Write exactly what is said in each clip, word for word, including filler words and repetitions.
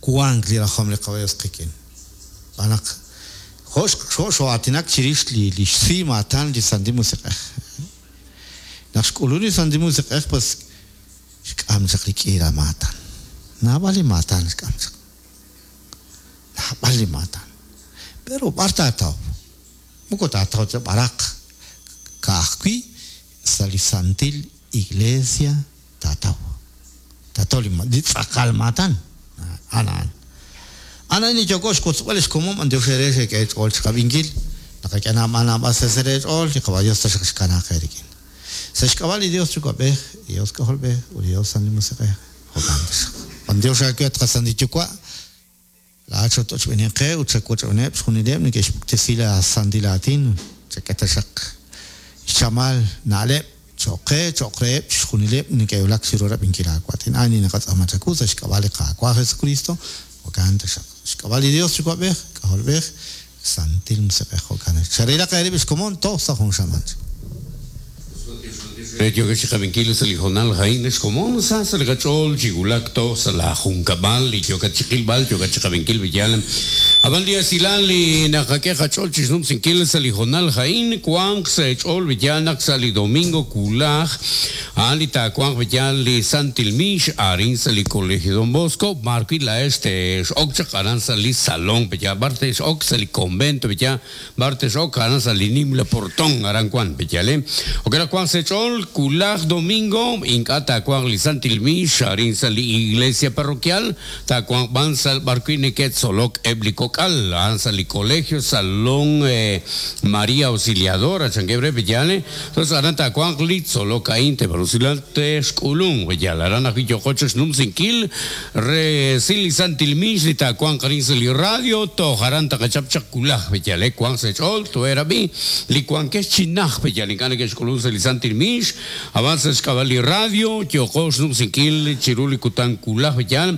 Wank li rajom li Qawa' Dios qik'in. B'anaq jo' xo'aatinak chirix li li xsi maatan li Santil Musiq'ej. Naq xk'ulun li Santil Musiq'ej pues xk'am chaq li k'iila maatan. Naab'al li maatan xk'am chaq. Naab'al li maatan. Pero b'ar taataw? Moko taataw ta b'araq. Ka'ajwi' sa' li Santil Iglesia taataw. Taataw li li tz'aqal maatan. Anaan. Ana ni yoko xkotzb'al xkomom ante xere xek'e ch'ool xqab'inkil. Naqak'e naab'al naab'al sesere ch'ool li Qawa' Dios taxaq xkanaaq eerik'in. Sa' xk'ab'a' li Dios Yuwa'b'ej, Dios K'ajolb'ej ut Dios Santil Musiq'ej. Jo'kan taxaq. Dios xaawet qasantil Yuwa'. Laa'at xat'ochb'enin qe ut xawoch'b'eneb' xjunileb' neke'xpuktesi la santil aatin. Chak'e taxaq xchamal na'leb' cho'q qe, cho'q reheb' xjunileb' neke'wulak chiru rab'inkil aawaatin. Ani naqatz'aama chawu sa' xk'ab'a' li Qaawa' Jesucristo. Jo'kan taxaq. Xk'ab'a' li Dios Yuwa'b'ej, K'ajolb'ej, Santil Musiq'ej. Jo'kan. Xarilaq eerib' xkomon toj sa' jun xamaan. Re yokex xqab'inkil sa' li jonal jain xkomon sa' sa' li qach'ool chigulak toj sa' la junkab'al li yokat chiqilb'al yokat chiqab'inkil b'iyal ab'an li asilal li naqak'e qach'ool chixnumsinkil sa' li jonal jain wanq sa' ch'ool b'iyal naq sa' li domingo kulaj a'an li taawanq b'iyal li Santil Mix arin sa' li Colegio Don Bosco marwi la este x'ok chaq aran sa' li salón b'iyal b'ar x'ok sa' li convento b'iyal b'ar x'ok aran sa' li nimla portón aran wan b'iyal eh okera wanq sa' ch'ool kulaj domingo ink'a taawanq li Santil Mix arin sa' li iglesia parroquial taawanq b'an sa' b'arwi' neke'tzolok eb' li kok'al a'an sa' li colegio Salón eh, María Auxiliadora chankebre b'iyal entonces aran taawanq li tzolok a'in tebarusilal texk'ulun b'iyal aran ajwi' yoqoch xnumsinkil re si li Santil Mix li taawanq arin sa' li radio toj aran taqachap chaq kulaj b'iyal eh wanq sa' ch'ool toerab'i li wankex chinaj b'iyal ink'a' neke'xk'ulun sa' li Santil Mix avanza xk'ab'a' li radio yoqo xnumsinkil chiru li kutan kulaj b'iyal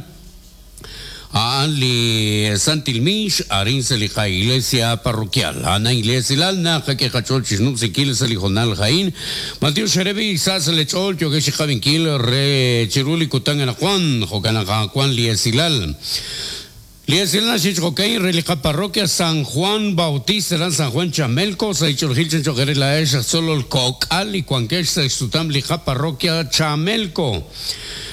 a'an li Santil Mix arin sa' li qa iglesia parroquial ana iglesia lal naqak'e qach'ool chixnumsinkil sa' li jonal jain Mateo xerebi sa' sa' li ch'ool yokex xqab'inkil re chiru li kutan anaqwan jo'kan aqawan li esilal Liesilal xich'okein reliqa parroquia San Juan Bautista ran San Juan Chamelco sa ich'orjil chanch'oqere la ex solo el kok'al y cuankex sa xsutam liqa parroquia Chamelco.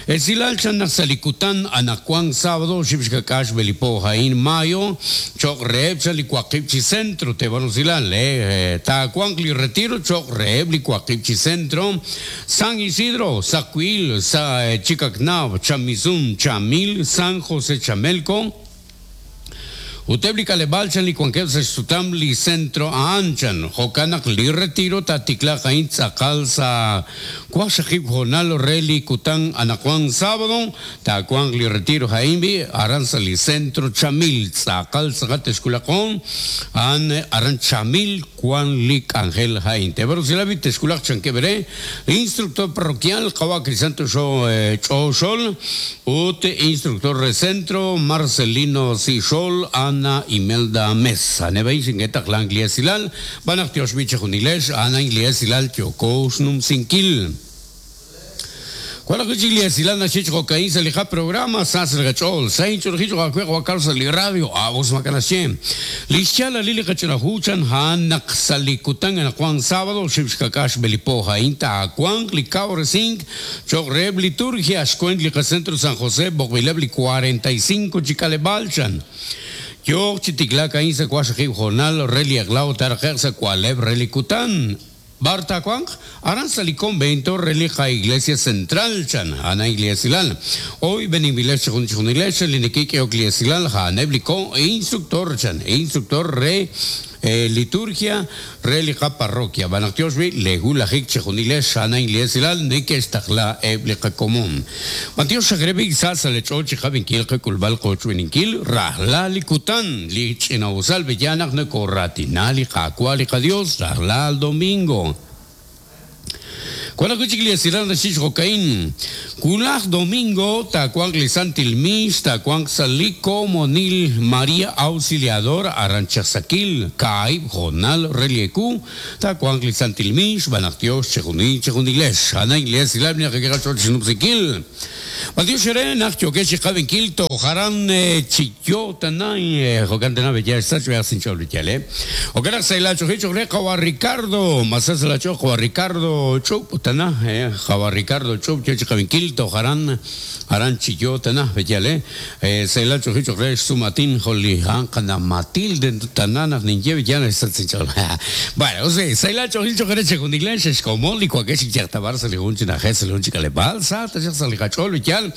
Esilal chan naq sa li kutan anaqwan sábado xib'xkak'ax belipo jain mayo choq reheb chan li waqib' chi centro tebarusilal eh taawanq li retiro choq reheb li waqib' chi centro San Isidro Sacuil sa eh, Chicacnab Chamizun Chamil San José Chamelco Uteb li kaleb'al chan li wankeb' sa' xsutam li centro a'an chan jo'kan naq li retiro tatiklaq a'in tz'aqal sa' waqxaqib' jonal re li kutan anaqwan sábado taawanq li retiro ja'in b'i aran sa' li centro Chamil tz'aqal tz'aqal texkulaqon a'an aran Chamil wan li k'anjel ja'in tebarusilabi texkulaq chankeb' re instructor parroquial qawa' Crisanto Xo eh, Ch'oxol ut instructor re centro Marcelino Sixol Ana Imelda Mesa. Nebay singetaq lan Silal, banaq tiox biche junilex, Ana Inglia Silal tiokox numsinkil. Cuando que Silal nachich jocaín sa lija programa sas gachol, sain churjich wakwe wakal sa li radio, avos makanashem. Lischala lili kachurahuchan han naq salikutan en Juan sábado, xibxkakash belipo jainta akuan li kaoresink, chok reb liturgia, xcuent li centro San José, bokbileb li cuarenta y cinco chicalebalchan. Yok chitiklak ain sa kwashakib jonal reli aglao tarqeq sa kwaleb reli kutan. Barta Juan, aran sa li convento relija iglesia central chan, ana iglesia silal. Hoy benimilesh chun chun iglesia linikik iglesia silal ja nebliko e instructor chan, e instructor re eh, liturgia relija parroquia. Banaktiosbi legulajik chejunilesh ana iglesia silal nekestaqla ebliqa común. Mateo Shagrebi sasa le chochi jabinkil kulbal qochwininkil rahla likutan lich inausal bellanak nekorratina li qakwali qadios rahla al domingo. Cuando kuchik li esilal naxich jokain. Kulaj domingo takuank li santil mis takuank sali komonil María Auxiliadora Aranchasakil kaib jonal relieku takuank li santil mis banaktios chejuni chejunilesh. Ana iglesia silal ni kakira cholchinupsikil. Mateo Shere nak yokeshi kabenkil to jaran chiyo tanay jokantena bella sach vea sin chol yale. Okera se la chojicho re kawa Ricardo, masas la cho kawa Ricardo chup tana eh kawa Ricardo chup chochi kabenkil to jaran haran chiyo tana bellale. Eh se la chojicho re sumatin joli han kana Matilde tanana ninye bella sach sin chol. Bueno, o sea, se la chojicho re chejunilesh es como li cuakeshi yaktabar se le hunchina jes se le hunchika le balsa, ta se le cachol yal.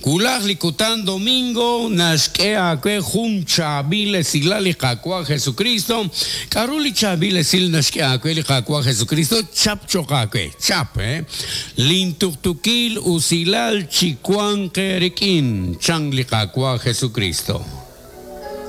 Kulaj likutan domingo nashkea kwe jun chabile silali kakwa Jesucristo. Karuli chabile sil nashkea kwe li kakwa Jesucristo chap chokakwe chap eh. Lintuktukil usilal chikuan kerikin chang li kakwa Jesucristo.